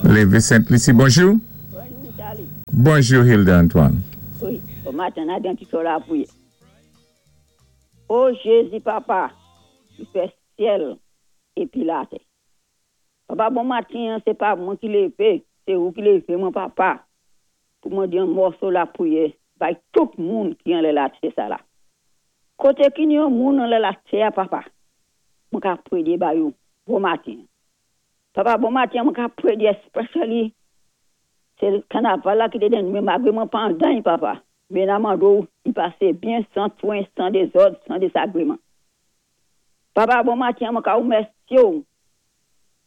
Lévé Sent-Lisi, bonjou. Bonjou, Charlie. Bonjou, Hilda Antoine. Wi, bon maten, n-a di yon ti so lapriyè. O Jézi Papa, ki fè syèl épi latè. Papa, bon maten, sé pa mwen ki lévé, sé ou ki lévé mwen, Papa, pou mwen di yon mòso lapriyè bay tout moun ki anlè latè sa la. Koté ki ni yon moun anlè latè, Papa, mwen ka pwédé ba yo, bon maten. Papa, bon maten, mwen ka pwédé especially sé kanaval la ki té den mwen malgwé mwen pa andan, Papa. Mé n-a mandé i pasé byen san twen, san dézòd, san désagréman. Papa, bon maten, mwen ka wémèsyé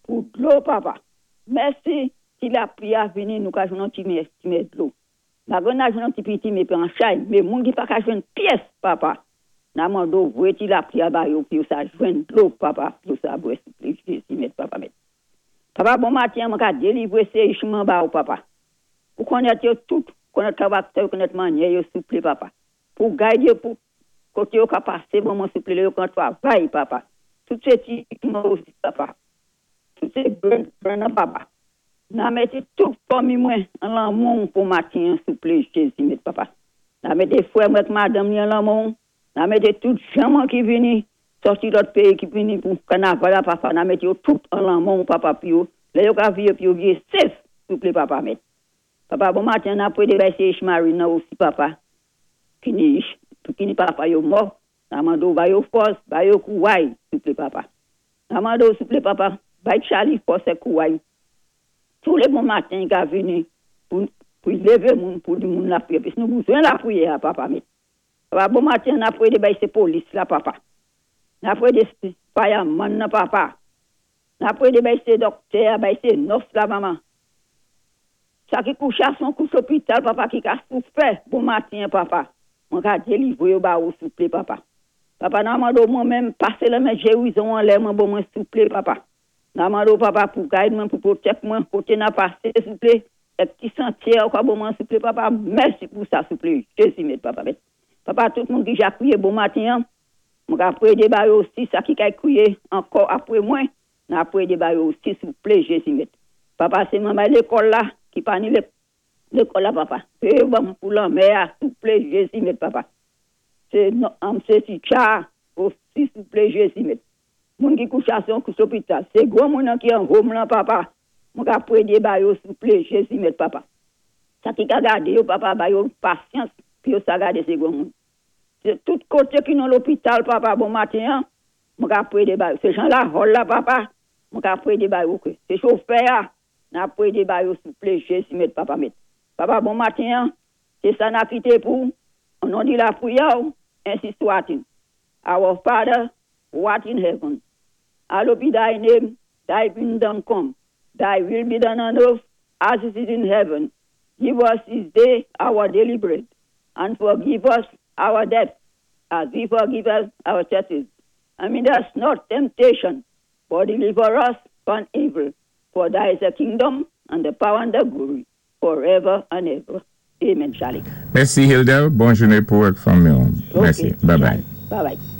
pou dlo, Papa. Mèsi si lapwi a vini, nou ka jwenn yon ti mé dlo. Malgwé n-a jwenn yon ti piti mé an chay, mé moun ki pa ka jwenn pyès, Papa. N-a mandé voyé ti lapwi a ba yo pou sa jwenn dlo, Papa, pou sa bwè, souplé, Jézi, mèt, Papa, mèt. Papa, bon maten, mwen ka délivré sé mwen ba ou, Papa. Pou konnèt yo tout, konnèt karaktè, konnèt mannyè yo, souplé, Papa. Pou gidé yo pou koté yo ka pasé, bon mwen souplé, yo kan twavay, Papa. Tout sé ti mwen osi, Papa. Tout sé gran, Papa. N-a mété tout fanmi mwen an lan men pou maten, souplé, Jézi, mèt, Papa. N-a mété frè mwen madanm ni an lan men. N-a mété tout jan mwen ki vini, sòti lòt péyi ki vini pou kanaval, Papa. N-a mété yo tout an lan men, Papa, pi yo, lè yo ka viwé, pi yo viwé safe, souplé, Papa, mèt. Papa, bon maten, n-a pwédé bay sé Marine osi, Papa. Ki ni, ki ni papa yo mò. N-a mandé ba yo fòs, ba yo kouway, souplé, Papa. N-a mandé souplé, Papa, bay Charlie fòs é kouway. Tou lé bon maten, i ka vini pou lévé moun, pou di moun lapriyè. Pis nou bezwen lapriyè, Papa, mèt. Papa, bon maten, n-a pwédé bay sé polis la, Papa. N-a pwédé fireman nan, Papa. N-a pwédé bay sé dòktè, bay sé nurse la, manman. Sa ki kouché a son kouch lopital, Papa, ki ka soufè, bon maten, Papa. Mwen ka délivwé yo ba ou, souplé, Papa. Papa, n-a mandé mwen menm, pasé lanmen gérizon anlè mwen, bon mwen, souplé, Papa. N-a mandé Papa, pou gidé mwen, pou pwotèk mwen, koté n-a pasé, souplé. É ti santyé, kwa bon mwen, souplé, Papa. Mèsi pou sa, souplé. Jézi, mèt, Papa, mèt. Papa, tout moun ki ja kwiyé bon maten, mwen ka pwédé ba yo osi, sa ki kay kwiyé ankò apwé mwen, n-a pwédé ba yo osi, souplé, Jézi, mèt. Papa, sé manman lékòl la, ki pa ni lékòl la, Papa. É bon pou lanmè, souplé, Jézi, mèt, Papa. Sé sé teacher osi, souplé, Jézi, mèt. Moun ki kouché a son kouch lopital. Sé gwo moun ki an home la, Papa. Mwen ka pwédé ba yo, souplé, Jézi, mèt, Papa. Sa ki ka gadé yo, Papa, ba yo pasyans, pi yo sa gadé sé gwo moun. Sé tout koté ki nan lopital, Papa, bon maten, mwen ka pwédé ba yo. Sé jan la hall la, Papa, mwen ka pwédé ba yo ké. Sé chofè, n-a pwédé ba yo, souplé, Jézi, mèt, Papa, mèt. Papa, bon maten, sé sa n-a kité pou, o non di lapriyè, ensi swat-il. Our Father, who art in heaven, hallowed be thy name, thy kingdom come, thy will be done on earth as it is in heaven. Give us this day our daily bread, and forgive us our debts, as we forgive us our debtors. And lead us not temptation, but deliver us from evil. For thy is the kingdom, and the power and the glory, forever and ever. Amen, Charlie. Mèsi, Hilda. Bon jounen pou ak fanmi. Mèsi. Bye bye. Bye bye.